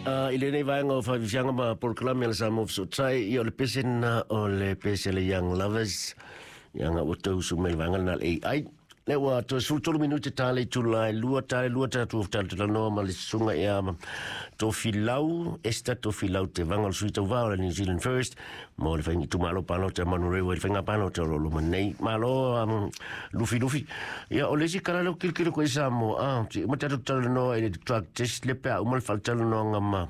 I lenei vaega o Faafiafiaga ma Polokalame a le Samoa Fesootai, ia o le pese lena o le pese a le Young Lovers, ia nga ua tau usu mai le vaega lena a le AI. Lea ua toe 13 minute ta le itula e 2 ta le 2 tatou talanoa ma le susuga ia Tofilau, Esther Tofilau Tevaga o le sui tauva o le New Zealand First mo le faiga itumalo palota Manurewa i le faiga palota o lo o loma nei. Malo Lufi Lufi. Ia o le isi tala lea ua kilokilo koe i Samoa, ah, uma tatou talanoa i le drug test le pe a uma le faatalanoaga ma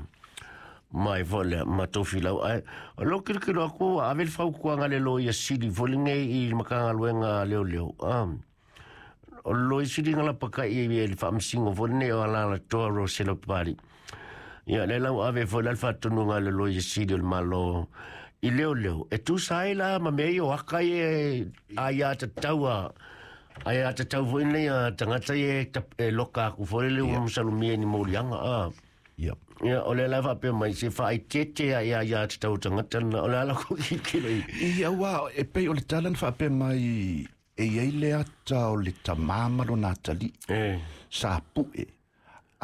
mai foi lea ma Tofilau ae o lou kilokilo aku ua ave le fautuaga a le loia sili foi lenei i le Matagaluega a Leoleo ah, o le loia sili na lapakai i le faamasino foi lenei o Alalatoa Rosella Papalii. Ia lea la ua ave foi la le faatonuga a le loia sili o le Malo i leoleo e tusa ai la ma mea ia o aka ia e aiatatau a aiatatau foi nei a tagata ia e loka aku foi lele ua masalomia i ni moliaga ah. Ia. Ia, o lea la e faapea mai, se faaeteete a ia ia tatau tagata lena. O le a la kou tilotilo i. Ia, aua e pei o le tala na faapea mai e i ai le ata o le tamā ma lona atalii. E. Sa pu'e,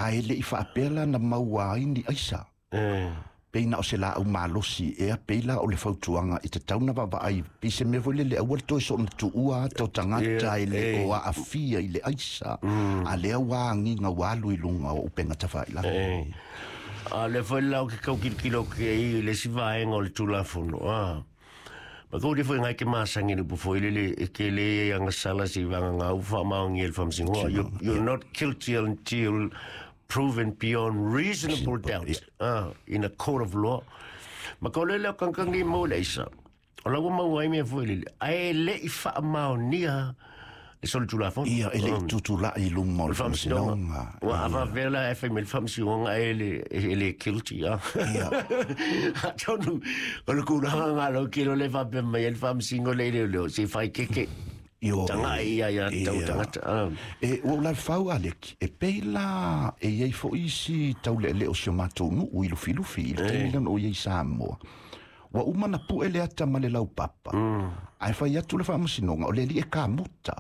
ae le i faapea la na maua ai ni aisa. E. Pei na o se laau malosi ea, pei la o le fautuaga e tatau na vaavaai, pei se mea foi lele aua le toe soona tuua ata o tagata e le o aafia i le aisa, a lea ua agiga ua alu i luga o upega tafailagi. E. A o lea foi la ou te tau tilotilo atu i ai i le isi vaega o le Tulafono, a. Ma kou le foi ngai ke masani le upu foi lele e ke le ia agasala se i vagana au faamaonia e le Faamasinoga. You're not guilty until proven beyond reasonable doubt in a court of law. Ma ka ole lea o kankangi mo le aisa. O la ua maua ai mea foi lele. Ae le i faamaonia le solitulafono. Ia, e le i tutulai i luma o le faamasinoga. Ua faapea la e fai mai le faamasinoga e le, e le guilty. Ah. Ia. Atonu, o le kulaga ngā lau kilo le faapea mai ai le faamasino le le leo, se whai keke. Ioe. Taga'i ia ia tau Ia. tagata. Ah. E, ua ou lalefau Aleki, e pei la e i ai foi isi taulealea o si o matou nuu i Lufilufi i le taimi lea na ou i ai i Samoa. Ua uma na pu'e le ata ma le laupapa, ae fai atu le faamasinoga o le alii e kamuta.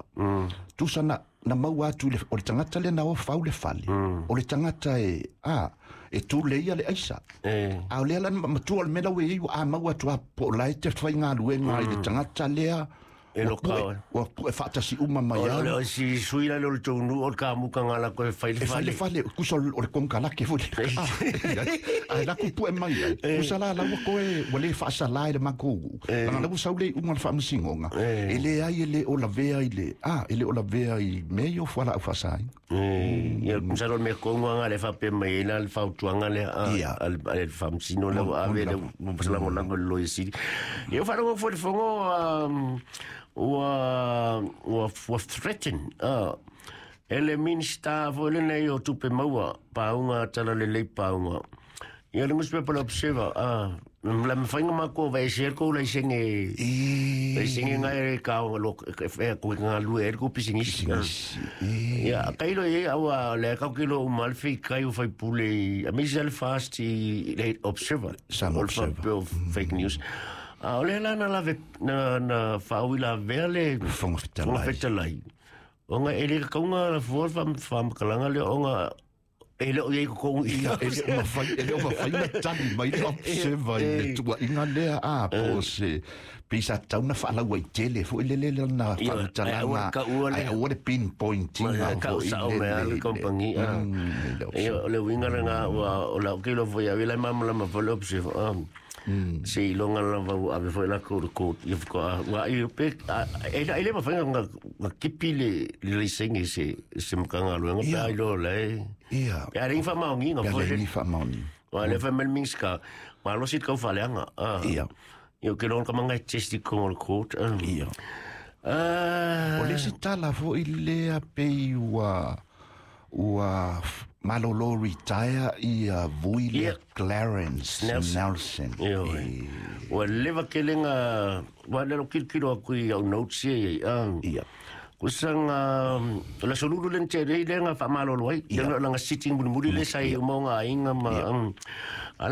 Tusa na, na maua atu i le, o le tagata lea na o fau le fale, o le tagata e, a, e tuleia le aisa. E. A o lea la na matua o le mea la ua i ai, ua a maua atu a po o la e te faigaluega i le tagata lea, E Ua lo pu'e, ka. ua pu'e faatasi uma mai O le au. o si sui la le tou nuu o le kamuka nga la koe fai le E fai le fale. fale, kusa o le konekarake foi le Ae la ku pu'e mai ai. Kusa la la ua koe, ua le faasala i le matou nuu. Leaga la ua sau le iuga o le faamasinoga, e leai e le o lavea i le, a, e le o lavea i mea ia o fualaau faasaina. Ia, masalo o le mea tonu lava lea e faapea mai ai la le fautuaga lea a Ia. a le a le faamasino lea ua ave lea ua lagolago i le Loia Sili. Ia, ua faalogo foi i le fono ua ua ua threaten e le Minisita foi lenei o Tupe Maua, pauga talalelei pauga. Ia, le newspaper le Observer, la mafai ona matou aveesea le tou laisene E. laisene na e ka lo e ko galue ai le tou pisinisi. Pisinisi. E. Ia, kailo i ai aua o lea kau ke lo uma le feikai o faipule i a meisi le fast i le Observer. Samoa O le Observer. faapea o fake news. A o lea la na lave na na faaui lavea le Fofoga Fetalai. Fofoga Fetalai. Ona e le tataua na fua le faamatalaga lea ona e le o i ai i totonu i Ia, e le o mafai, e le o mafai na tali mai le Observer i le tuuaiga lea, a, po o se, pei sa tatau na faalauaitele foi lele lana Ia, ae aua le faamatalaga, taua ae lea. aua le pinpoint ina Tau foi sao lele mai a le i le- kompani. Ah. Mm, i le Ia, Observer. o le uiga lena ua o lau kilo foi au i lai malamalama foi le Observer. Ah. Se iloga lava ua ave foi latou i le court. Ia faatoa ua ai pe e e le mafai ona na kipi le le laisene se se Matagaluega pe Ia. ai loa la e. Ia. Pe a le ni faamaoniga Pe a foi leai le. ni faamaoniga. Ua le fai mai le Minisita, malosi le taufaaleaga. Ah. Ia. Ia, ou te iloa ka manga e test i totonu o le court. Ah. Ia. Ah. O le isi tala foi lea pei ua ua malolo retire ia Vui lea Ia. Clarence Nelson. Nelson. Ioe. E, Ua leva tele nga ua lelo kilokilo aku i au notes ia i ai. Ah. Ia. Kusa nga o le aso lulu le na tea nei lea na faamalolo ai. Ia. Lea na sitting mulimuli le sa i uma o ngā aiga ma. Ia. A